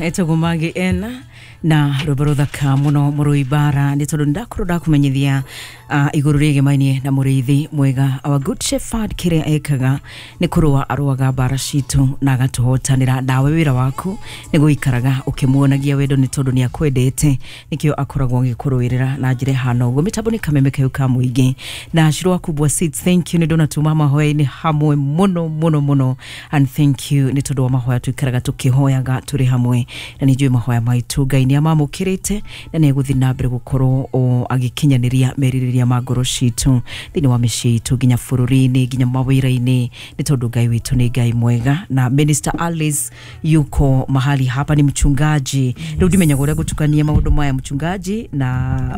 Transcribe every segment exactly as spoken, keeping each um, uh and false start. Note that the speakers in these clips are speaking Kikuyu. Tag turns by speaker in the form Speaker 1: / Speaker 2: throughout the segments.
Speaker 1: Etagwo Magi N na rwĩmbo rũthaka mũno mũrũi bara nĩ tondũ ndakorwo ndakumenyithia uh, igũrũ rĩgemaine na mũrĩithi mwega, our good shepherd. Kĩrĩa ekaga nĩ kũrũa arũaga mbara citũ na agatũhotanĩra. Nawe wĩra waku nĩ gũikaraga ũkĩmuonagia wendo nĩ tondũ nĩ akwendete, nĩkĩo akoragwo agĩkũrũĩrĩra na njĩra ĩhana ũguo. Mĩtambo nĩ kameme kau ka mũingĩ na Shiro wa Kubwa Seeds. Thank you nĩ ndona tuma mahoya-inĩ hamwe mũno mũno mũno, and thank you nĩ tondũ wa mahoya tuikaraga tũkĩhoyaga tũrĩ hamwe, na nĩ njũĩ mahoya maitũ Ngai nĩ amamũkĩrĩte na nĩ egũthiĩ na mbere gũkorwo o agĩkinyanĩria merirĩria ma ngoro citũ thĩinĩ wa mĩciĩ itũ, nginya bũrũri-inĩ, nginya mawĩra-inĩ, nĩ tondũ Ngai witũ nĩ Ngai mwega. Na Minister Alice yuko mahali hapa, ni mchungaji. Rĩu ndimenyaga ũrĩa gũtukania maũndũ maya, mchungaji na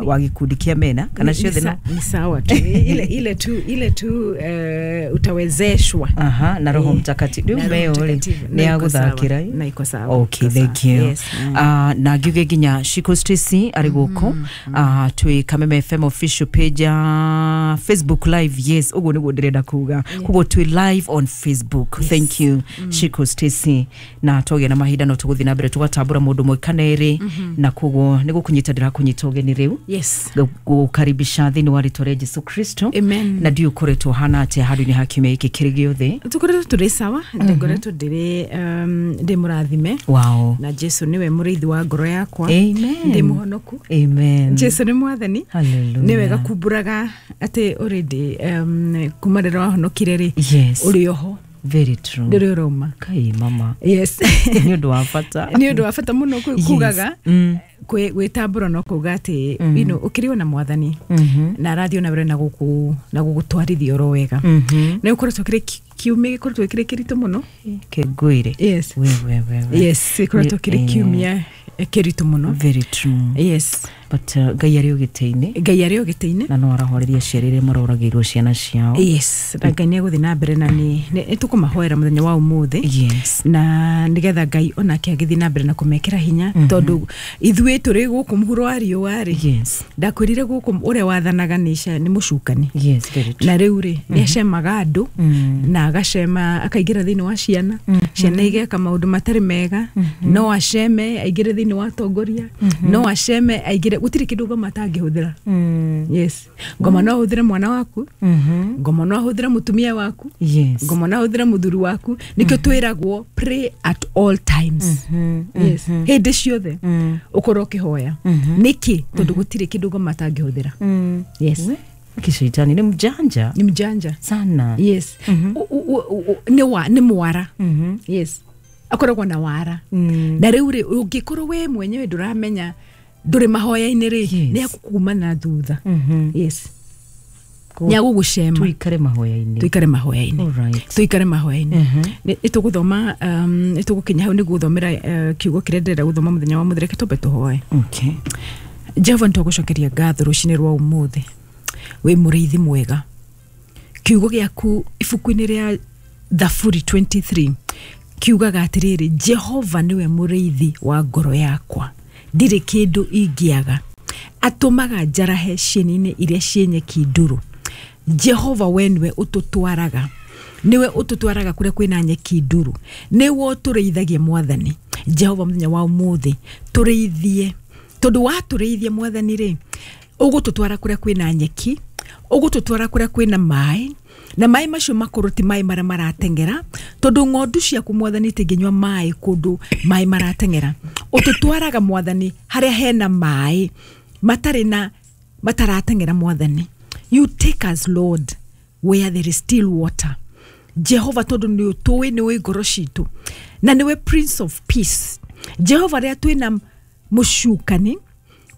Speaker 1: wa gĩkundi kĩa mena kana
Speaker 2: Ni- ni
Speaker 1: ciothe
Speaker 2: sa-
Speaker 1: no
Speaker 2: ni sawa tu, ile, ile tu ile tu uh, utawezeshwa.
Speaker 1: Aha, na Roho
Speaker 2: Eh,
Speaker 1: Mtakatifu rĩu
Speaker 2: na Roho
Speaker 1: meo rĩ
Speaker 2: Mtakatifu.
Speaker 1: nĩ
Speaker 2: Na iko sawa.
Speaker 1: agũthakĩra.
Speaker 2: Na iko sawa.
Speaker 1: Okay,
Speaker 2: Iko sawa.
Speaker 1: thank you.
Speaker 2: Yes. Mm.
Speaker 1: Uh, na ngiuge nginya Shiko Stacy arĩ gũkũ, uh, twĩ Kameme F M official page ya Facebook live. Yes, ũguo nĩguo ndĩrenda kuga. Koguo twĩ live on Facebook.
Speaker 2: Yes.
Speaker 1: Thank you, Shiko Stacy. Na twagĩa na mahinda no tũgũthiĩ na mbere tũgatambũra mũndũ ũmwe kana erĩ, na koguo nĩ gũkũnyita ndĩrakũnyita ũgeni rĩu,
Speaker 2: Yes.
Speaker 1: gũkaribisha thĩinĩ wa rĩtwa rĩa Jesu Kristo.
Speaker 2: Amen.
Speaker 1: Na ndiũ ũkoretwo hana atĩa handũ-inĩ ha kiumia gĩkĩ kĩrĩ gĩothe?
Speaker 2: Tukoretwo tũrĩ sawa, ngoretwo ndĩrĩ um, ndĩ mũrathime
Speaker 1: wow
Speaker 2: na Jesu nĩwe mũrĩithi wa ngoro yakwa.
Speaker 1: Amen.
Speaker 2: Ndĩ mũhonoku.
Speaker 1: Amen.
Speaker 2: Jesu nĩ mwathani.
Speaker 1: Hallelujah.
Speaker 2: Nĩ wega kumbũraga atĩ already um, kuma rĩrĩa wahonokire rĩ,
Speaker 1: Yes.
Speaker 2: ũrĩ oho.
Speaker 1: Very true.
Speaker 2: Ndũrĩ ũrauma.
Speaker 1: Kai mama.
Speaker 2: Yes.
Speaker 1: Nĩ ũndũ wa bata.
Speaker 2: Nĩ ũndũ wa bata mũno ku-
Speaker 1: Yes.
Speaker 2: kugaga
Speaker 1: Mm.
Speaker 2: kwĩ- gwĩtambũra no kuga atĩ you know, ũkĩrĩ ona mwathani
Speaker 1: Mhm.
Speaker 2: na arathiĩ ona mbere na gũkũ na gũgũtwarithia oro wega.
Speaker 1: Mhm.
Speaker 2: Nĩ ũkoretwo kĩrĩ kiumia gĩkoretwo kĩrĩ kĩritũ mũno.
Speaker 1: Kĩngwĩre.
Speaker 2: Yes.
Speaker 1: We we we we.
Speaker 2: Yes, gĩkoretwo kĩrĩ
Speaker 1: Eh.
Speaker 2: kiumia kĩritũ mũno.
Speaker 1: Very true.
Speaker 2: Yes.
Speaker 1: But uh, Ngai arĩ ũgĩtĩ-inĩ.
Speaker 2: Ngai arĩ o gĩtĩ-inĩ.
Speaker 1: Na no arahoreria aciari arĩa maroragĩirwo ciana ciao.
Speaker 2: Yes, na Ngai nĩ egũthiĩ na mbere na nĩ nĩ tũkũmahoera mũthenya wa ũmũthĩ
Speaker 1: Yes.
Speaker 2: na nĩgetha Ngai onake agĩthiĩ na mbere na kũmekĩra hinya, tondũ ithuĩ tũrĩ gũkũ mũhuro wa riũa rĩ,
Speaker 1: Yes.
Speaker 2: ndakwĩrire gũkũ ũrĩa wathanaga nĩ ca- nĩ mũcukani.
Speaker 1: Yes, very true.
Speaker 2: Na rĩu rĩ, nĩ acemaga andũ
Speaker 1: Mm.
Speaker 2: na agacema akaingĩra thĩinĩ wa ciana, ciana igeka maũndũ matarĩ mega. No aceme aingĩre thĩinĩ wa atongoria, no aceme aingĩre, gũtirĩ kĩndũ ngoma atangĩhũthĩra.
Speaker 1: Mm.
Speaker 2: Yes, ngoma no ahũthĩre mwana waku,
Speaker 1: Mhm.
Speaker 2: ngoma no ahũthĩre mũtumia waku,
Speaker 1: Yes.
Speaker 2: ngoma no ahũthĩre mũthuri waku. Nĩkĩo twĩragwo pray at all times.
Speaker 1: Mhm.
Speaker 2: Yes, hĩndĩ ciothe
Speaker 1: Mm.
Speaker 2: ũkorwo ũkĩhoya. Nĩkĩ? Tondũ gũtirĩ kĩndũ ngoma atangĩhũthĩra.
Speaker 1: Mm.
Speaker 2: Yes.
Speaker 1: We, kishaitani ni mjanja
Speaker 2: Nĩ mjanja.
Speaker 1: Sana.
Speaker 2: Yes. U- u- u- u- nĩ wa nĩ mwara.
Speaker 1: Mhm.
Speaker 2: Yes, akoragwo na wara.
Speaker 1: Mm.
Speaker 2: Na rĩu rĩ, ũngĩkorwo we mwenyewe ndũramenya ndũrĩ mahoya-inĩ rĩ,
Speaker 1: Yes.
Speaker 2: nĩ akũkuma na thutha.
Speaker 1: Mhm.
Speaker 2: Yes.
Speaker 1: Ko-
Speaker 2: Nĩ agũgũcema.
Speaker 1: Tuikare mahoya-inĩ.
Speaker 2: Tuikare mahoya-inĩ.
Speaker 1: Alright.
Speaker 2: Tuikare mahoya-inĩ.
Speaker 1: Mhm.
Speaker 2: Nĩ tũgũthoma um, nĩ tũgũkinya hau nĩ gũthomera uh, kiugo kĩrĩa ndĩrenda gũthoma mũthenya wa mũthĩ. Reke tũmbe tũhoe.
Speaker 1: Okay.
Speaker 2: Jehova, nĩtwagũcokeria ngatho rũcinĩ rwa ũmũthĩ. Wĩ mũrĩithi mwega. Kiugo gĩaku ibuku-inĩ rĩa Thaburi mĩrongo ĩĩrĩ na ithatũ kiugaga atĩrĩrĩ, "Jehova nĩwe mũrĩithi wa ngoro yakwa, ndirĩ kĩndũ ingĩaga. Atũmaga njarahe cieni-inĩ iria ciĩ nyeki ndũrũ." Jehova, we nĩwe ũtũtwaraga, nĩwe ũtũtwaraga kũrĩa kwĩna nyeki nduru, nĩwe ũtũrĩithagia. Mwathani Jehova, mũthenya wa ũmũthĩ tũrĩithie, tondũ watũrĩithia Mwathani rĩ, ũgũtũtwara kũrĩa kwĩna nyeki, ũgũtũtwara kũrĩa kwĩna maĩ, na maĩ macio makorwo ti maĩ marĩa marateng'era, tondũ ng'ondu ciaku Mwathani itingĩnyua maĩ kũndũ maĩ marateng'era. Ũtũtwaraga Mwathani harĩa hena maĩ matarĩ na matarateng'era. Mwathani, you take us, Lord, where there is still water. Jehova, tondũ nĩ ũtũĩ, nĩ ũĩ ngoro citũ na nĩwe Prince of Peace. Jehova, rĩrĩa twĩna mũcukani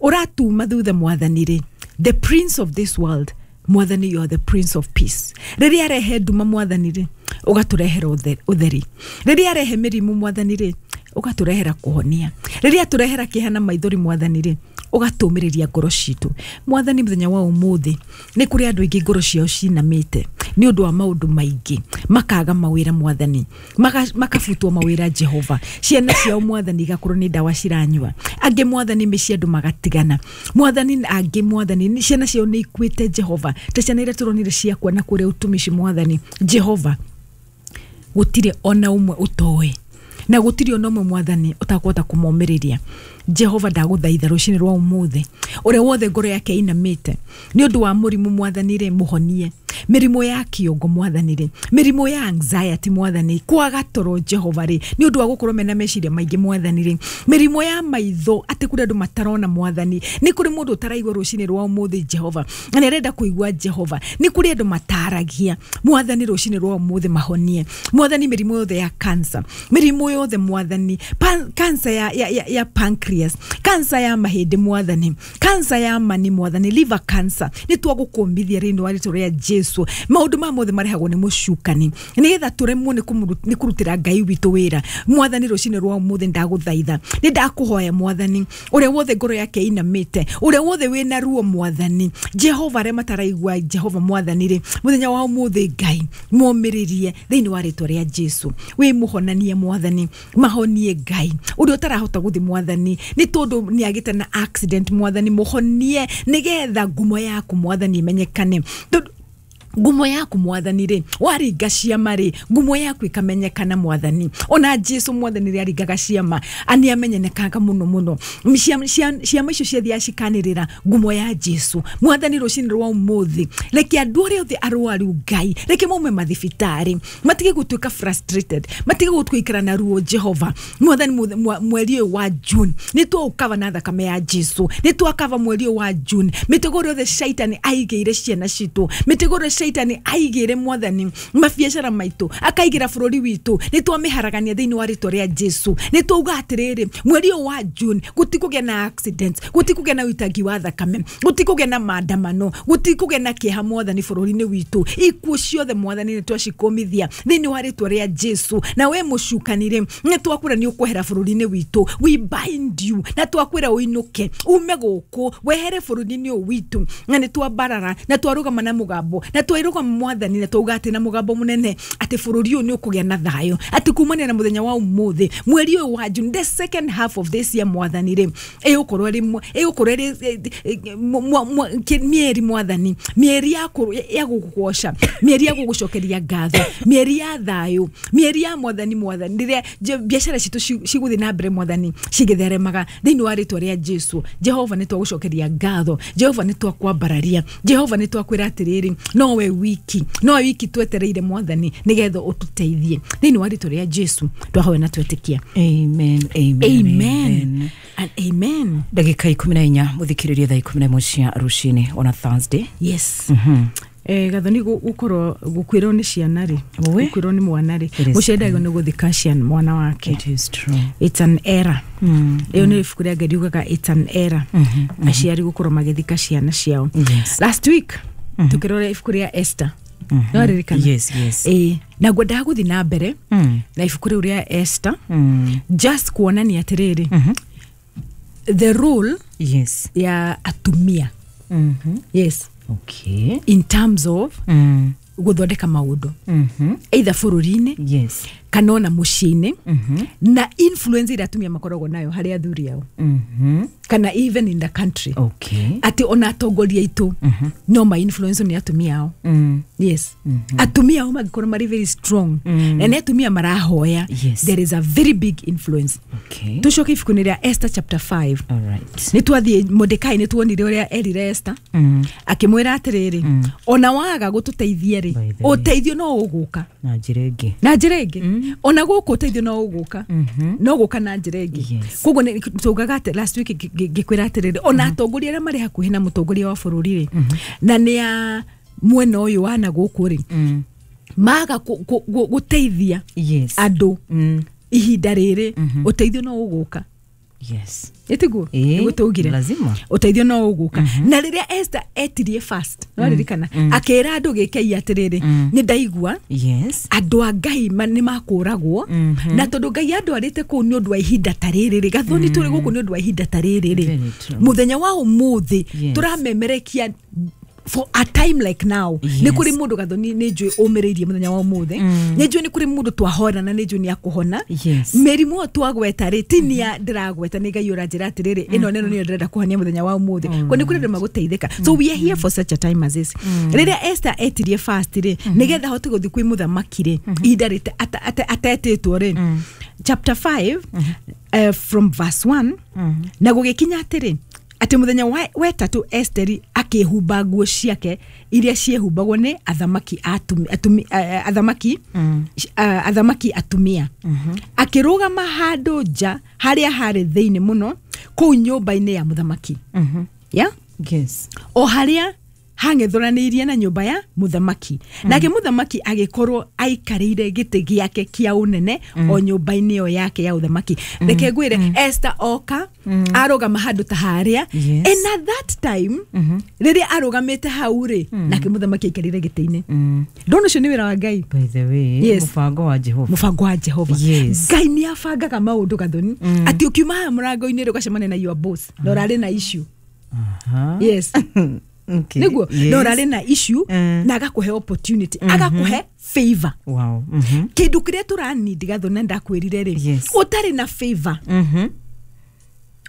Speaker 2: ũratuma thutha Mwathani rĩ, the prince of this world, Mwathani, you are the Prince of Peace. Rĩrĩa arehe nduma Mwathani rĩ, ũgatũrehera ũthe- ũtheri. Rĩrĩa arehe mĩrimũ Mwathani rĩ, ũgatũrehera kũhonia. Rĩrĩa atũrehera kĩeha na maithori Mwathani rĩ, ũgatũmĩrĩria ngoro citũ. Mwathani, mũthenya wa ũmũthĩ nĩ kũrĩ andũ aingĩ ngoro ciao cinamĩte nĩ ũndũ wa maũndũ maingĩ, makaga mawĩra Mwathani, maka- makabutwo mawĩra Jehova, ciana ciao Mwathani igakorwo nĩ ndawa ciranyua, angĩ Mwathani mĩciĩ andũ magatigana Mwathani, angĩ Mwathani nĩ- ciana ciao nĩ ikuĩte Jehova, ta ciana iria tũronire ciakua na kũrĩa ũtumishi. Mwathani Jehova, gũtirĩ ona ũmwe ũtoĩ. Na gũtirĩ ona ũmwe mwathani ũtakũhota kũmomĩrĩria. Jehova ndagũthaitha rũcinĩ rwa ũmũthĩ, ũrĩa wothe ngoro yake ĩinamĩte nĩ ũndũ wa mũrimũ mwathani rĩ, mũhonie. Mĩrimũ ya kĩongo mwathani rĩ, mĩrimũ ya anxiety mwathani, kwaga toro Jehova rĩ, nĩ ũndũ wa gũkorwo mena meciria maingĩ mwathani rĩ, mĩrimũ ya maitho atĩ kũrĩ andũ matarona mwathani, nĩ kũrĩ mũndũ ũtaraigua rũcinĩ rwa ũmũthĩ Jehova na nĩ arenda kũigua Jehova, nĩ kũrĩ andũ mataragia mwathani rũcinĩ rwa ũmũthĩ mahonie mwathani, mĩrimũ yothe ya cancer, mĩrimũ yothe mwathani, pan, cancer ya, ya, ya, ya pancreas, cancer ya mahĩndĩ mwathani, cancer ya mani mwathani, liver cancer, nĩ twagũkũmbithia rĩinĩ wa rĩtwa rĩa Jesu. Maũndũ maya mothe marehagwo nĩ mũcukani nĩgetha tũremwo nĩ kũmũru- nĩ kũrutĩra Ngai witũ wĩra mwathani. Rũcinĩ rwa ũmũthĩ ndagũthaitha, nĩ ndakũhoya mwathani, ũrĩa wothe ngoro yake ĩinamĩte, ũrĩa wothe wĩna ruo mwathani Jehova, arĩa mataraigua Jehova mwathani rĩ, mũthenya wa ũmũthĩ Ngai momĩrĩrie thĩinĩ wa rĩtwa rĩa Jesu. Wĩ mũhonanie mwathani, mahonie Ngai ũrĩa ũtarahota gũthiĩ mwathani nĩ tondũ nĩ agĩte na accident mwathani, mũhonie nĩgetha ngumo yaku mwathani ĩmenyekane. Tondũ ngumo yaku mwathani rĩ, waringa ciama rĩ, ngumo yaku ĩkamenyekana mwathani. Ona Jesu mwathani rĩ aringaga ciama ani amenyekanaga mũno mũno. Ciama ciama- ciama icio ciathiaga cikanĩrĩra ngumo ya Jesu mwathani. Rũcinĩ rwa ũmũthĩ reke andũ arĩa othe arwaru Ngai reke maume mathibitarĩ, matige gũtuĩka frustrated, matige gũikara na ruo Jehova mwathani. Muthe- mwa- mweri ũyũ wa June nĩ twaũkava na thakame ya Jesu, nĩ twakava mweri ũyũ wa June. Mĩtego ĩrĩa yothe shaitani aigĩire ciana citũ, mĩtego ĩrĩa shaitani aigĩire mwathani mabiacara maitũ, akaigĩra bũrũri witũ, nĩ twamĩharagania thĩinĩ wa rĩtwa rĩa Jesu. Nĩ twauga atĩrĩrĩ, mweri ũyũ wa June gũtikũgĩa na accidents, gũtikũgĩa na ũitangi wa thakame, gũtikũgĩa na maandamano, gũtikũgĩa na kĩeha mwathani bũrũri-inĩ witũ. Ikuũ ciothe mwathani nĩ twacikũmithia thĩinĩ wa rĩtwa rĩa Jesu. Na we mũcukani rĩ, nĩ twakwĩra nĩ ũkwehera bũrũri-inĩ witũ, we bind you, na twakwĩra ũinũke ume gũkũ wehere bũrũri-inĩ ũyũ witũ. Na nĩ twambarara na twarũgama na mũgambo na twairũgama mwathani na twauga atĩ na mũgambo mũnene atĩ bũrũri ũyũ nĩ ũkũgĩa na thayũ, atĩ kumania na mũthenya wa ũmũthĩ mweri ũyũ wa June, the second half of this year mwathani rĩ, ĩgũkorwo ĩrĩ mwa- ĩgũkorwo ĩrĩ eh, eh, mwa- mwa- kĩ- mĩeri mwathani, mĩeri ya kũ- ya gũgũgoca, mĩeri ya gũgũcokeria ngatho, mĩeri ya thayũ, mĩeri ya mwathani mwathani rĩrĩa je- biacara citũ ci- cigũthiĩ na mbere mwathani cigĩtheremaga thĩinĩ wa rĩtwa rĩa Jesu. Jehova nĩ twagũcokeria ngatho, Jehova nĩ twakwambararia, Jehova nĩ twakwĩra atĩrĩrĩ, nowe wiki, nowe wiki twetereire mwathani nĩgetha ũtũteithie thĩinĩ wa rĩtwa rĩa Jesu twahoya na twetĩkia.
Speaker 1: Amen, amen,
Speaker 2: amen and amen.
Speaker 1: Ndagĩka ikũmi na inya mũthikĩrĩrie thaa ikũmi na ĩmwe cia rũcinĩ ona Thursday.
Speaker 2: Yes. Eh, gathoni gukorwo gukwirwo ni ciana ri,
Speaker 1: Ũĩ.
Speaker 2: gukwirwo ni mwana ri,
Speaker 1: It is
Speaker 2: muciari ndagĩrĩirwo nĩ gũthika ciana mwana wake.
Speaker 1: It is true.
Speaker 2: It's an error.
Speaker 1: Mm.
Speaker 2: Ĩyo nĩ ibuku rĩa Ngai riugaga it's an error aciari gũkorwo magĩthika ciana ciao.
Speaker 1: Yes.
Speaker 2: Last week tukĩrora ibuku rĩa Esther, no ririkana?
Speaker 1: Yes, yes.
Speaker 2: Ĩĩ, na ngwendaga gũthiĩ na mbere
Speaker 1: Mm.
Speaker 2: na ibuku rĩu rĩa Esther,
Speaker 1: Mm.
Speaker 2: just kuonania atĩrĩrĩ, the role
Speaker 1: Yes.
Speaker 2: ya atumia.
Speaker 1: Mhm.
Speaker 2: Yes.
Speaker 1: Okay.
Speaker 2: In terms of
Speaker 1: Mm.
Speaker 2: gũthondeka maũndũ
Speaker 1: Mhm.
Speaker 2: either bũrũri-inĩ
Speaker 1: Yes.
Speaker 2: kana ona mũciĩ-inĩ,
Speaker 1: Mhm.
Speaker 2: na influence ĩrĩa atumia makoragwo nayo harĩ athuri ao
Speaker 1: Mhm.
Speaker 2: kana even in the country,
Speaker 1: Okay.
Speaker 2: atĩ ona atongoria aitũ no ma influence nĩ atumia ao.
Speaker 1: Mm.
Speaker 2: Yes, atumia ao mangĩkorwo marĩ very strong
Speaker 1: Mm.
Speaker 2: na nĩ atumia marahoya,
Speaker 1: Yes.
Speaker 2: there is a very big influence.
Speaker 1: Okay.
Speaker 2: Tũcoke ibuku-inĩ rĩa Esther chapter five.
Speaker 1: All right.
Speaker 2: Nĩ twathiĩ Mordekai, nĩ tuonire ũrĩa erire Esther,
Speaker 1: Mm.
Speaker 2: akĩmwĩra atĩrĩrĩ, ona waga gũtũteithia rĩ,
Speaker 1: By the way.
Speaker 2: ũteithio no ũgũka.
Speaker 1: Na njĩra ĩngĩ.
Speaker 2: Na njĩra ĩngĩ, ona gũkũ ũteithio no ũgũka, no gũka na njĩra ĩngĩ.
Speaker 1: Yes.
Speaker 2: Koguo nĩ- tugaga atĩ last week ngĩ- ngĩ- ngĩkwĩra atĩrĩrĩ, ona atongoria arĩa marĩ hakuhĩ na mũtongoria wa bũrũri rĩ, na nĩ a mwena ũyũ wa na gũkũ rĩ,
Speaker 1: Mm.
Speaker 2: maga kũ- kũ- gũ- gũteithia
Speaker 1: Yes.
Speaker 2: andũ
Speaker 1: Mm.
Speaker 2: ihinda rĩrĩ, ũteithio no ũgũka.
Speaker 1: Yes.
Speaker 2: Ĩtiguo?
Speaker 1: Ĩĩ,
Speaker 2: nĩguo tũugire.
Speaker 1: Lazima.
Speaker 2: Ũteithio no ũgũka. Na rĩrĩa Esther etirie fast, no ririkana akĩra andũ gĩkei atĩrĩrĩ, nĩ ndaigua
Speaker 1: Yes.
Speaker 2: andũ a Ngai ma- nĩ makũragwo, na tondũ Ngai andwarĩte kũu nĩ ũndũ wa ihinda ta rĩrĩ rĩ, gathoni tũrĩ gũkũ nĩ ũndũ wa ihinda ta rĩrĩ rĩ,
Speaker 1: Very true.
Speaker 2: mũthenya wa ũmũthĩ
Speaker 1: Yes.
Speaker 2: tũramemerekia for a time like now.
Speaker 1: Yes.
Speaker 2: Nĩ kũrĩ mũndũ Gathoni nĩ njũĩ ũmĩrĩirie mũthenya wa ũmũthĩ, nĩ njũĩ nĩ kũrĩ mũndũ twahona na nĩ njũĩ nĩ akũhona.
Speaker 1: Yes.
Speaker 2: Mĩrimũ ĩyo twagweta rĩ, ti nia ndĩragweta, nĩ Ngai ũranjĩra atĩrĩrĩ, ĩno nĩno nĩyo ndĩrenda kũhonia mũthenya wa ũmũthĩ. Kwa nĩ kũrĩ andũ magũteithĩka. So we are here for such a time as this. Rĩrĩa Esther etirie fast rĩ, nĩgetha ahote gũthiĩ kwĩ mũthamaki rĩ, ihinda rĩte ata- ata- atetĩtwo rĩ, chapter five uh, from verse one, na gũgĩkinya atĩrĩ, atĩ mũthenya wa- wetatũ Esteri akĩhumba nguo ciake iria ciehumbagwo nĩ athamaki atumi, atumi, uh, athamaki uh, athamaki atumia, akĩrũgama handũ nja harĩa harĩ thĩinĩ mũno kũu nyũmba-inĩ ya mũthamaki, yeah?
Speaker 1: Yes.
Speaker 2: O harĩa hang'ethũranĩirie na nyũmba ya mũthamaki. Nake mũthamaki agĩkorwo aikarĩire gĩtĩ gĩake kĩa ũnene o nyũmba-inĩ ĩyo yake ya ũthamaki. Reke ngwĩre, Esther oka arũgama handũ ta harĩa.
Speaker 1: Yes.
Speaker 2: And at that time rĩrĩa arũgamĩte hau rĩ, nake mũthamaki aikarĩire gĩtĩ-inĩ. Ndona ũcio nĩ wĩra wa Ngai.
Speaker 1: By the way,
Speaker 2: Yes.
Speaker 1: mũbango wa Jehova.
Speaker 2: Mũbango wa Jehova.
Speaker 1: Yes.
Speaker 2: Ngai nĩ abangaga maũndũ, Gathoni, atĩ ũkiuma haha mũrango-inĩ rĩ, ũgacemania na your boss na ũrarĩ na issue.
Speaker 1: Aha.
Speaker 2: Yes.
Speaker 1: Okay.
Speaker 2: Nĩguo.
Speaker 1: Yes.
Speaker 2: Na ũrarĩ na issue,
Speaker 1: Mm.
Speaker 2: na agakũhe opportunity, agakũhe favor.
Speaker 1: Wow. Mhm.
Speaker 2: Kĩndũ kĩrĩa tũranindi, Gathoni, na ndakwĩrire rĩ,
Speaker 1: Yes.
Speaker 2: ũtarĩ na favor,
Speaker 1: Mhm.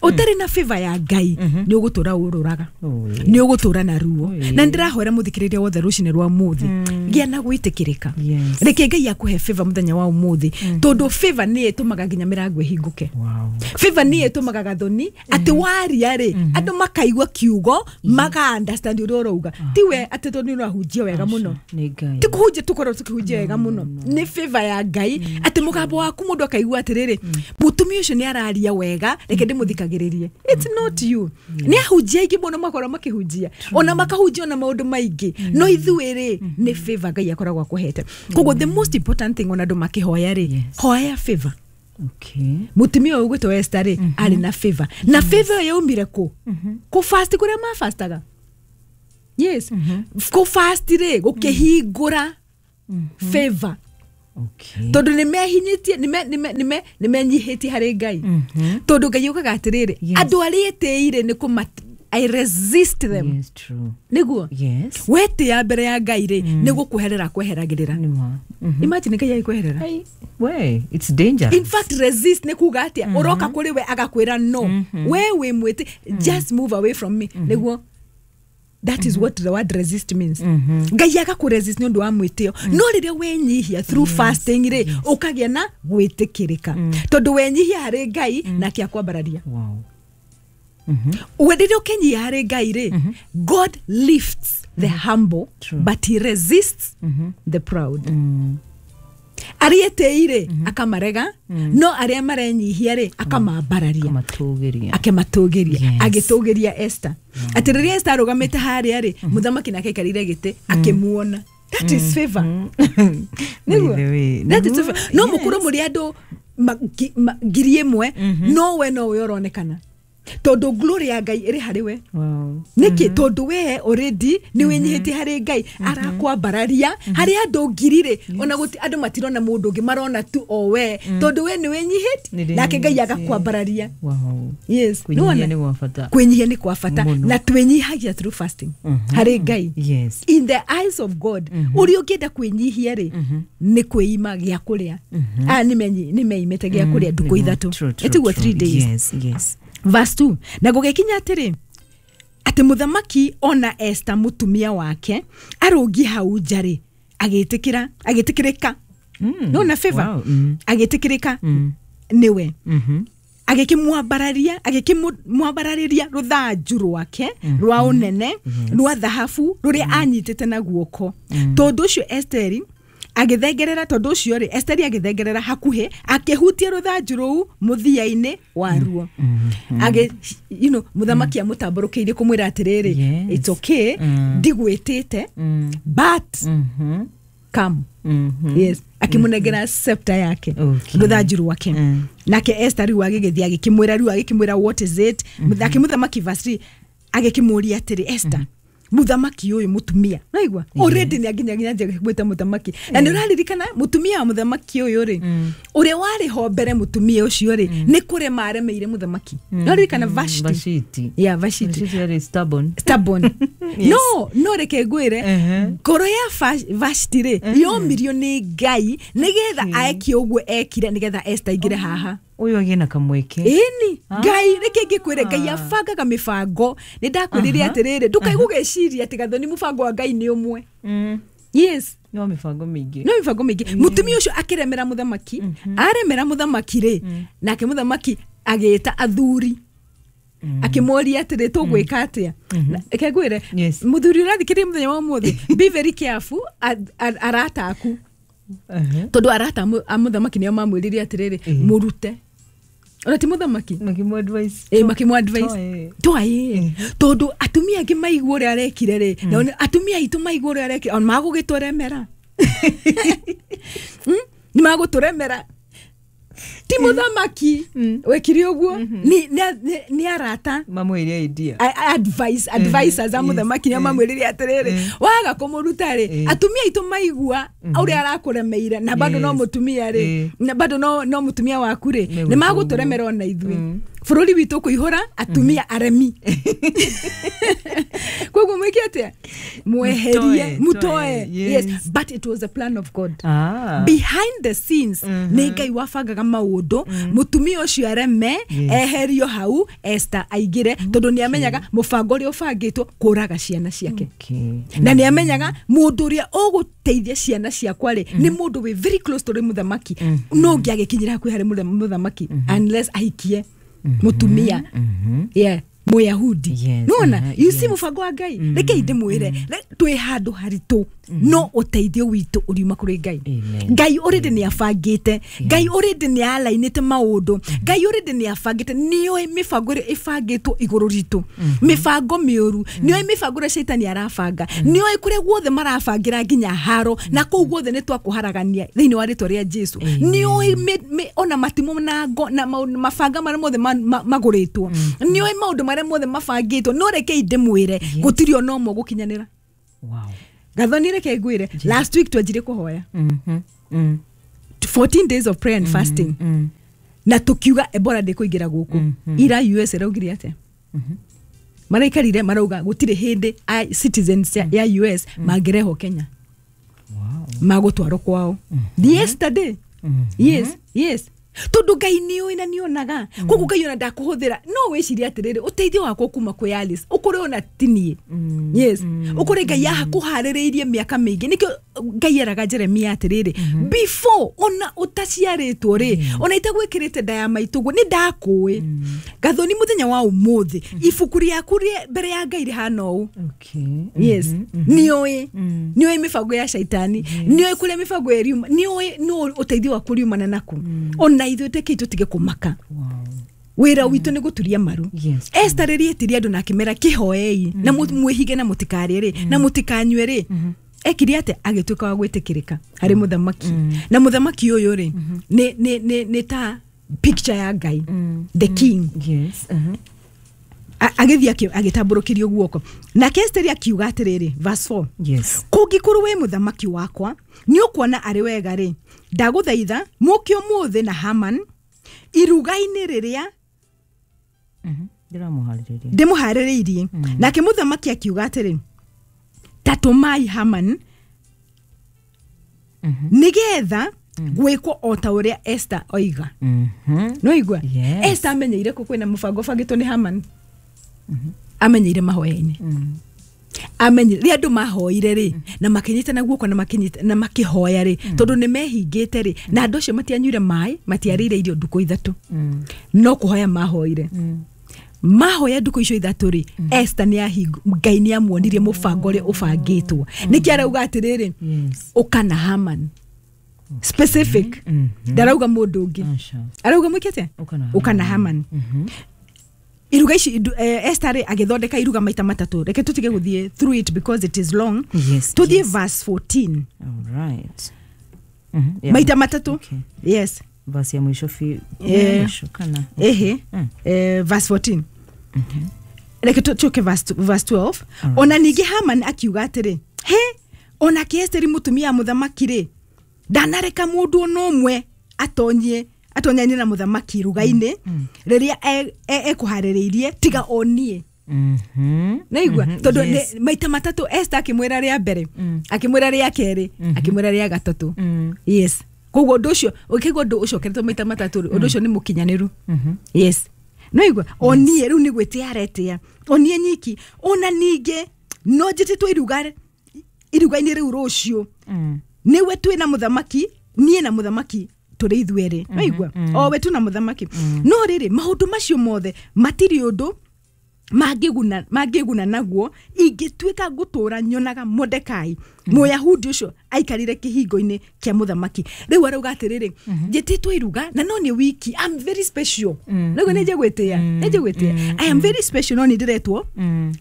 Speaker 2: ũtarĩ na favor ya Ngai, nĩ ũgũtũra ũrũraga,
Speaker 1: Oh, yeah.
Speaker 2: nĩ ũgũtũra na ruo.
Speaker 1: Oh, yeah.
Speaker 2: Na ndĩrahoera mũthikĩrĩria wothe rũcinĩ rwa mũthĩ, gĩa na gwĩtĩkĩrĩka.
Speaker 1: Yes.
Speaker 2: Reke Ngai akũhe favor mũthenya wa ũmũthĩ, tondũ favor nĩ ĩtũmaga nginya mĩrango ĩhingũke.
Speaker 1: Wow.
Speaker 2: Favor nĩ ĩtũmaga, Gathoni, atĩ waria rĩ, andũ makaigua kiugo, maka understand ũrĩa ũrauga. Tiwe atĩ tondũ nĩ ũrahunjia wega mũno.
Speaker 1: Nĩ Ngai.
Speaker 2: Ti kũhunjia tũkorwo tũkĩhunjia wega mũno, nĩ favor ya Ngai, atĩ mũgambo waku mũndũ akaigua atĩrĩrĩ, mũtumia ũcio nĩ araria wega, reke ndĩmũthikagĩrĩrie. It's not you. Nĩ ahunjia aingĩ mũno makorwo makĩhunjia, ona makahunjia ona maũndũ maingĩ, no ithuĩ rĩ, nĩ favor Ngai akoragwo akũhete. Koguo the most important thing, ona andũ makĩhoya rĩ,
Speaker 1: Yes.
Speaker 2: hoya favor.
Speaker 1: Okay.
Speaker 2: Mũtumia ũyũ ũgwĩtwo Esther rĩ, arĩ na favor, na favor ĩyo yaumire kũ? Kũ fast kũrĩa mafastaga. Yes, kũ fast rĩ, gũkĩhingũra favor,
Speaker 1: Okay.
Speaker 2: tondũ nĩ mehinyĩtie, nĩ menyihĩtie harĩ Ngai, tondũ Ngai ugaga atĩrĩrĩ,
Speaker 1: Yes.
Speaker 2: andũ arĩa etĩire nĩ kũma I resist them.
Speaker 1: Yes, true.
Speaker 2: Nĩguo.
Speaker 1: Yes.
Speaker 2: Wetĩa mbere ya Ngai rĩ, nĩ gũkweherera kweheragĩrĩra.
Speaker 1: Nĩ ma. Mhm.
Speaker 2: Imagine Ngai agĩkweherera.
Speaker 1: Ai, we, it's dangerous.
Speaker 2: In fact, resist nĩ kuga atĩa? Ũroka kũrĩ we, agakwĩra no, we wĩ mwĩtĩ, just move away from me. Nĩguo, that is what the word resist means. Ngai agakũresist nĩ ũndũ wa mwĩtĩo. No rĩrĩa wenyihia through fasting rĩ, ũkagĩa na gwĩtĩkĩrĩka, tondũ wenyihia harĩ Ngai, nake akwambararia.
Speaker 1: Wow.
Speaker 2: We rĩrĩa ũkenyihia harĩ Ngai rĩ, God lifts the humble,
Speaker 1: True.
Speaker 2: but he resists the proud. Arĩa etĩi rĩ, akamarega, no arĩa marenyihia rĩ, akamambararia.
Speaker 1: Kamatũgĩria.
Speaker 2: Akematũgĩria.
Speaker 1: Yes.
Speaker 2: Agĩtũgĩria Esther, atĩ rĩrĩa Esther arũgamĩte harĩa rĩ, mũthamaki nake aikarĩire gĩtĩ akĩmuona. That is favor. Nĩguo.
Speaker 1: By the way,
Speaker 2: That is
Speaker 1: nĩguo,
Speaker 2: favor. No
Speaker 1: yes.
Speaker 2: mũkorwo mũrĩ andũ ma- ngi- ma- ngiri ĩmwe, no we nowe ũronekana, tondũ glory ya Ngai ĩrĩ harĩ we.
Speaker 1: Wow.
Speaker 2: Nĩkĩ? Tondũ we already nĩ wĩnyihĩtie harĩ Ngai, arakwambararia harĩ andũ ngiri rĩ, ona gũti andũ matirona mũndũ ũngĩ, marona tu o we, tondũ we nĩ wĩnyihĩtie,
Speaker 1: Nĩ
Speaker 2: nake Ngai
Speaker 1: ndĩnyihĩtie.
Speaker 2: agakwambararia.
Speaker 1: Wow.
Speaker 2: Yes.
Speaker 1: Kwĩnyihia
Speaker 2: Nĩwona?
Speaker 1: nĩ gwa bata.
Speaker 2: Kwĩnyihia nĩ kwa bata.
Speaker 1: Mũno.
Speaker 2: Na twĩnyihagia through fasting harĩ Ngai.
Speaker 1: Yes.
Speaker 2: In the eyes of God, ũrĩa ũngĩenda kwĩnyihia rĩ, nĩ kwĩima gĩa kũrĩa. Aya nĩ meimĩte gĩa kũrĩa ndukũ
Speaker 1: Nĩguo.
Speaker 2: ithatũ.
Speaker 1: True, true,
Speaker 2: Ĩtiguo?
Speaker 1: true.
Speaker 2: Three days.
Speaker 1: Yes, yes.
Speaker 2: Verse two, na gũgĩkinya atĩrĩ, atĩ mũthamaki ona Esther mũtumia wake arũngi hau nja rĩ, agĩtĩkĩra, agĩtĩkĩrĩka.
Speaker 1: Mm.
Speaker 2: Nona favor?
Speaker 1: Wow. Mm.
Speaker 2: Agĩtĩkĩrĩka
Speaker 1: Mm.
Speaker 2: nĩwe.
Speaker 1: Mhm.
Speaker 2: Agĩkĩmwambararia, agĩkĩmwambararĩria rũthanju rwake rwa ũnene rwa thahabu rũrĩa anyitĩte na guoko. Tondũ ũcio Esteri agĩthengerera, tondũ ũcio rĩ, Esteri agĩthengerera hakuhĩ, akĩhutia rũthanju rũu mũthia-inĩ waruo. Agĩ you know, mũthamaki amũtambũrũkĩirie kũmwĩra atĩrĩrĩ,
Speaker 1: Yes.
Speaker 2: it's okay,
Speaker 1: Mm.
Speaker 2: ndigwĩtĩte,
Speaker 1: Mm.
Speaker 2: but
Speaker 1: Mhm.
Speaker 2: come.
Speaker 1: Mhm.
Speaker 2: Yes, akĩmũnengera scepter yake,
Speaker 1: Okay.
Speaker 2: rũthanju rwake.
Speaker 1: Mm.
Speaker 2: Nake Esther rĩu agĩgĩthiĩ agĩkĩmwĩra, rĩu agĩkĩmwĩra, "What is it?" Nake mũthamaki, verse three, agĩkĩmũria atĩrĩ, "Esther, Muthamaki ũyũ mutumia naigua already nĩ anginya nginya gwĩta muthamaki na nĩ ũraririkana mutumia wa muthamaki ũyũ rĩ ũrĩa warĩ ho mbere mutumia ũcio rĩ nĩ kũrema aremeire muthamaki. Nĩ ũraririkana Vashti?
Speaker 1: Vashti.
Speaker 2: Yeah, Vashti.
Speaker 1: Vashti yarĩ stubborn.
Speaker 2: Stubborn.
Speaker 1: Yes.
Speaker 2: No, no reke ngwĩre,
Speaker 1: Uh-huh.
Speaker 2: ngoro ya Vash- Vashti rĩ yomirio nĩ Ngai nĩgetha aeke ũguo ekire nĩgetha Esther aingĩre haha.
Speaker 1: Ũyũ agĩe na kamweke.
Speaker 2: Ĩni Ngai, reke ngĩkwĩre, Ngai abangaga mĩbango. Nĩ ndakwĩrire atĩrĩrĩ, ndũkae gũgeciria atĩ Gathoni mũbango wa Ngai nĩ ũmwe.
Speaker 1: Mm.
Speaker 2: Yes.
Speaker 1: No mĩbango mĩingĩ.
Speaker 2: No mĩbango mĩingĩ. Mũtumia ũcio akĩremera mũthamaki, aremera mũthamaki rĩ, nake mũthamaki agĩta athuri akĩmoria atĩrĩ, tũgwĩka atĩa? Na- reke ngwĩre,
Speaker 1: Yes.
Speaker 2: mũthuri ũrathikĩrĩria mũthenya wa ũmũthĩ, be very careful a- a- arata aku,
Speaker 1: Uh-huh.
Speaker 2: tondũ arata a mu- a mũthamaki nĩo mamwĩrire atĩrĩrĩ, mũrute ona ti mũthamaki.
Speaker 1: Makĩmũ advice.
Speaker 2: Ĩ, makĩmũ advice.
Speaker 1: Toe.
Speaker 2: Twaĩ tondũ atumia angĩ maigua ũrĩa arekire rĩ, na ona atumia aitũ maigua ũrĩa arekire, ona magũgĩtũremera. Mm? Nĩ magũtũremera. Ti mũthamaki wekire ũguo, nĩ- nĩ- nĩ- nĩ arata.
Speaker 1: Mamwĩre idea.
Speaker 2: A- a- advice advisors a
Speaker 1: Yes.
Speaker 2: mũthamaki nĩo mamwĩrire atĩrĩrĩ, waga kũmũruta rĩ,
Speaker 1: Eh.
Speaker 2: atumia aitũ maigua ũrĩa arakũremeire na bado no
Speaker 1: Yes.
Speaker 2: mũtumia rĩ,
Speaker 1: Eh.
Speaker 2: na bado no no mũtumia waku rĩ,
Speaker 1: Megwĩka
Speaker 2: nĩ magũtũremera ona ithuĩ bũrũri witũ kũihũra atumia aremi. Koguo mwĩke atĩa? Mweherie.
Speaker 1: Mũtoe,
Speaker 2: Mũtoe.
Speaker 1: toe,
Speaker 2: Yes.
Speaker 1: yes.
Speaker 2: But it was a plan of God
Speaker 1: Ah.
Speaker 2: behind the scenes. Nĩ Ngai wabangaga maũndũ mũtumia ũcio areme,
Speaker 1: Yes.
Speaker 2: eherio hau, Esther aingĩre, tondũ nĩ amenyaga mũbango ũrĩa ũbangĩtwo kũraga ciana ciake.
Speaker 1: Okay.
Speaker 2: Na nĩ amenyaga mũndũ ũrĩa ũgũteithia ciana ciakwa rĩ, nĩ mũndũ wĩ very close to mũthamaki. No ũngĩagĩkinyĩra hakuhĩ harĩ mũtha- mũthamaki unless ahikie mũtumia, yeah, Mũyahudi.
Speaker 1: Yes,
Speaker 2: Nona
Speaker 1: uh-huh,
Speaker 2: you see
Speaker 1: yes.
Speaker 2: mũbango wa Ngai. Reke ndĩmwĩre, re- twĩ handũ haritũ, no ũteithio witũ ũriuma kũrĩ Ngai.
Speaker 1: Amen.
Speaker 2: Ngai already nĩ abangĩte. Ngai already nĩ alainĩte maũndũ. Ngai already nĩ abangĩte, nĩoĩ mĩbango ĩrĩa ĩbangĩtwo igũrũ ritũ, mĩbango mĩũru. Nĩoĩ mĩbango ĩrĩa caitani arabanga. Nĩoĩ kũrĩa guothe marabangĩra nginya haro na kũu guothe nĩ twakũharagania thĩinĩ wa rĩtwa rĩa Jesu. Nĩoĩ mĩ- mĩ- ona matimũ na ngo na maũndũ- mabanga marĩa mothe ma- ma- magũrĩtwo. Nĩoĩ maũndũ marĩa mothe mabangĩtwo. No rekei ndĩmwĩre, gũtirĩ ona ũmwe ũgũkinyanĩra.
Speaker 1: Wow.
Speaker 2: Gathoni, reke ngwĩre, last week twanjire kũhoya
Speaker 1: Mhm. Mm.
Speaker 2: fourteen days of prayer and fasting,
Speaker 1: Mm.
Speaker 2: na tukiuga Ebola ndĩkũingĩra gũkũ. Ira U S ĩraugire atĩa? Maraikarire marauga gũtirĩ hĩndĩ a citizens ya, ya U S mangĩrehwo Kenya.
Speaker 1: Wow.
Speaker 2: Magũtwarwo kwao yesterday. Yes, yes, tondũ Ngai nĩũĩ na nĩonaga. Koguo Ngai ona ndakũhũthĩra. No wĩcirie atĩrĩrĩ, ũteithio wakwa kuma kwĩ Alice, ũkũrĩ ona tinie. Yes, ũkũrĩ Ngai akũharĩrĩirie mĩaka mĩingĩ. Nĩkĩo Ngai eraga Jeremia atĩrĩrĩ, before ona ũtaciarĩtwo rĩ, ona itagwĩkĩrĩte nda ya maitũguo, nĩ ndakũĩ. Gathoni, mũthenya wa ũmũthĩ ibuku rĩaku rĩ- mbere ya Ngai rĩhana ũũ.
Speaker 1: Okay.
Speaker 2: Yes, nĩũĩ nĩũĩ mĩbango ya caitani, nĩũĩ kũrĩa mĩbango ĩriuma, nĩũĩ nũ ũteithio waku riumana naku. Ona ithuĩ tekei tũtige kũmaka.
Speaker 1: Wow.
Speaker 2: Wĩra witũ nĩ gũturia maru.
Speaker 1: Yes.
Speaker 2: Esther rĩrĩa etirie andũ na akĩmera kĩhoei na mũ- mwĩhige na mũtikarĩe rĩ na mũtikanyue rĩ, ekire atĩa? Agĩtuĩka wa gwĩtĩkĩrĩka harĩ mũthamaki. Na mũthamaki ũyũ rĩ, nĩ nĩ nĩ nĩ ta picture ya Ngai, the king.
Speaker 1: Yes. Uh-huh.
Speaker 2: A- agĩthiĩ akĩ- agĩtambũrũkĩrio guoko. Nake Esteri akiuga atĩrĩrĩ, verse four,
Speaker 1: Yes.
Speaker 2: kũngĩkorwo wĩ mũthamaki wakwa nĩ ũkuona arĩ wega rĩ, ndagũthaitha mũke ũmũthĩ na Haman iruga-inĩ rĩrĩa
Speaker 1: Mhm. Ndĩramũharĩrĩria.
Speaker 2: Ndĩmũharĩrĩirie. Nake mũthamaki akiuga atĩrĩ, ta tũmai Haman nĩgetha gwĩkwo o ta ũrĩa Esther oiga.
Speaker 1: Mhm.
Speaker 2: Noigua?
Speaker 1: Yes.
Speaker 2: Esther amenyeire kũ kwĩna mũbango ũbangĩtwo nĩ Haman? Amenyeire mahoya-inĩ. Amenyire rĩrĩa andũ mahoire rĩ, na makĩnyitana guoko na makĩnyita na makĩhoya rĩ, tondũ nĩ mehingĩte rĩ, na andũ acio matianyuire maĩ, matiarĩire irio ndukũ ithatũ, no kũhoya mahoire. Mahoya ndukũ icio ithatũ rĩ, Esther nĩ ahingu Ngai nĩ amuonirie mũbango ũrĩa ũbangĩtwo. Nĩkĩ arauga atĩrĩrĩ,
Speaker 1: Yes.
Speaker 2: ũka na Haman specific? Ndarauga mũndũ ũngĩ.
Speaker 1: Aca.
Speaker 2: Arauga mwĩke atĩa?
Speaker 1: Ũka na
Speaker 2: Ũka na Haman. Iruga ici indu- eh, Esther rĩ agĩthondeka iruga maita matatũ. Reke tũtige gũthiĩ through it because it is long.
Speaker 1: Yes.
Speaker 2: Tũthiĩ
Speaker 1: yes.
Speaker 2: verse fourteen.
Speaker 1: All right. Mhm. Yeah.
Speaker 2: Maita matatũ.
Speaker 1: Okay.
Speaker 2: Yes.
Speaker 1: Verse ya mwisho fi
Speaker 2: Eh.
Speaker 1: mwisho kana.
Speaker 2: Ehe.
Speaker 1: Mm.
Speaker 2: Eh, verse fourteen. Reke tũke verse verse twelve. Ona ningĩ Haman akiuga atĩrĩ, he onake Esteri mũtumia wa mũthamaki rĩ, ndanareka mũndũ ona ũmwe atonyie atonyanie na mũthamaki iruga-inĩ rĩrĩa e- e- ekũharĩrĩirie tiga o niĩ.
Speaker 1: Mhm.
Speaker 2: Naigua tondũ
Speaker 1: Yes.
Speaker 2: nĩ- maita matatũ Esther akĩmwĩra rĩa mbere, akĩmwĩra rĩa kerĩ, akĩmwĩra rĩa gatatũ. Yes, koguo ũndũ ũcio ũkĩigua ũndũ ũcokeretwo maita matatũ rĩ, ũndũ ũcio nĩ mũkinyanĩru. Yes, naigua o niĩ rĩu nĩ gwĩtĩa aretĩa o niĩ nyiki. Ona ningĩ no njĩtĩtwo iruga iruga-inĩ rĩu rũciũ, nĩwe twĩ na mũthamaki, niĩ na mũthamaki tũrĩ ithuerĩ. Naigua o we tu na mũthamaki. No rĩrĩ, maũndũ macio mothe matirĩ ũndũ mangĩguna mangĩguna naguo ingĩtuĩka ngũtũra nyonaga Mordekai Mũyahudi ũcio aikarire kĩhingo-inĩ kĩa mũthamaki. Rĩu arauga atĩrĩrĩ, njĩtĩtwo iruga na no nĩ wiki, I'm very special. Naguo nĩ njegwĩtĩa nĩ njegwĩtĩa I am very special, no nĩ ndĩretwo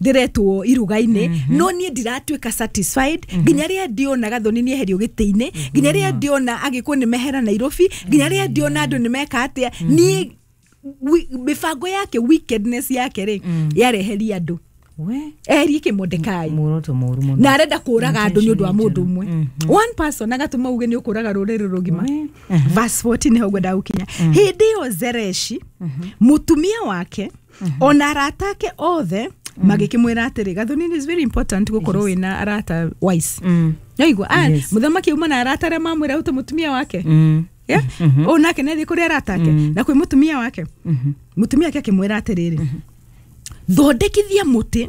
Speaker 2: ndĩretwo iruga-inĩ, no niĩ ndiratuĩka satisfied nginya rĩrĩa ndĩona Gathoni nĩ eherio gĩtĩ-inĩ, nginya rĩrĩa ndĩona Agĩkũyũ nĩ mehera Nairobi, nginya rĩrĩa ndĩona andũ nĩ meka atĩa. Niĩ wi- mĩbango yake, wickedness yake rĩ, yareheria andũ
Speaker 1: We
Speaker 2: eherie kĩ Mordekai.
Speaker 1: Muoroto mũru mũno.
Speaker 2: Na arenda kũraga andũ nĩ ũndũ wa mũndũ ũmwe,
Speaker 1: Mhm.
Speaker 2: one person agatũma uge nĩ ũkũraga rũrĩrĩ rũgima.
Speaker 1: We.
Speaker 2: Verse fourteen nĩho ngwenda gũkinya. Hĩndĩ ĩyo Zereshi mũtumia wake ona arata ake othe magĩkĩmwĩra atĩrĩ, Gathoni, is very important gũkorwo wĩna arata wise.
Speaker 1: Mm.
Speaker 2: Naigua ah,
Speaker 1: Yes.
Speaker 2: mũthamaki auma na arata arĩa mamwĩra ũte mũtumia wake.
Speaker 1: Mm.
Speaker 2: Yeah? Ũũ nake nĩathiĩ kũrĩ arata ake na kwĩ mũtumia wake. Mũtumia wake akĩmwĩra atĩrĩrĩ, thondekithia mũtĩ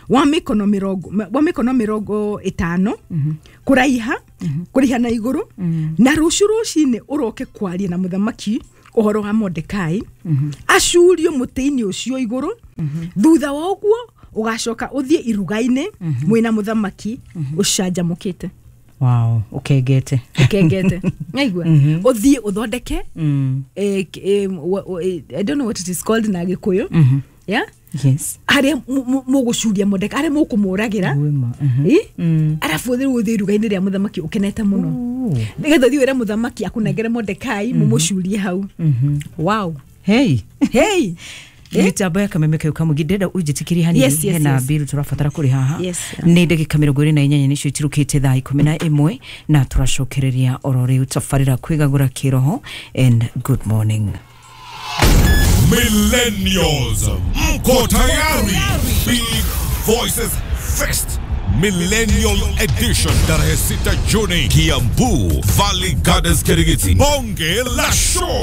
Speaker 2: wa mĩkono mĩrongo wa mĩkono mĩrongo ĩtano kũraiha kũraiha na igũrũ, na rũciũ rũcinĩ ũroke kwaria na mũthamaki ũhoro wa Mordekai acurio mũtĩ-inĩ ũcio igũrũ. Thutha wa ũguo ũgacoka ũthiĩ iruga-inĩ mwĩna mũthamaki ũcanjamũkĩte.
Speaker 1: Wow, ũkengete.
Speaker 2: Ũkengete. Naigua ũthiĩ ũthondeke
Speaker 1: Mm.
Speaker 2: eh, k- eh, wa- wa- eh, I don't know what it is called na Gĩkũyũ. Yeah,
Speaker 1: Yes.
Speaker 2: harĩa mu- mu- mũgũcuria Mordekai, harĩa mũkũmũragĩra.
Speaker 1: Wĩma. Mhm.
Speaker 2: Ĩ?
Speaker 1: Mm.
Speaker 2: Arabu rĩu ũthiĩ iruga-inĩ rĩa mũthamaki ũkenete mũno,
Speaker 1: Ooh.
Speaker 2: nĩgetha ũthiĩ wĩre mũthamaki akũnengere Mordekai mũmũcurie hau. Wow.
Speaker 1: Hey.
Speaker 2: Hey. Eh?
Speaker 1: Mitambo ya kameme kau kamũingĩ, ndĩrenda ũnjĩtĩkĩrie hanini.
Speaker 2: Yes, yes,
Speaker 1: hena
Speaker 2: yes.
Speaker 1: mbiru tũrabatara kũrĩ haha.
Speaker 2: Yes.
Speaker 1: Nĩ ndagĩka mĩrongo ĩrĩ na inyanya nĩcio itirũkĩte thaa ikũmi na ĩmwe, na tũracokereria oro rĩu tabarĩra kwĩgagũra kĩroho. And good morning.
Speaker 3: Millennials, mko tayari? Big Voices Fest Millennial Edition, tarehe sita Juni, Kiambu, Valley Gardens, Kirigiti. Bonge la show.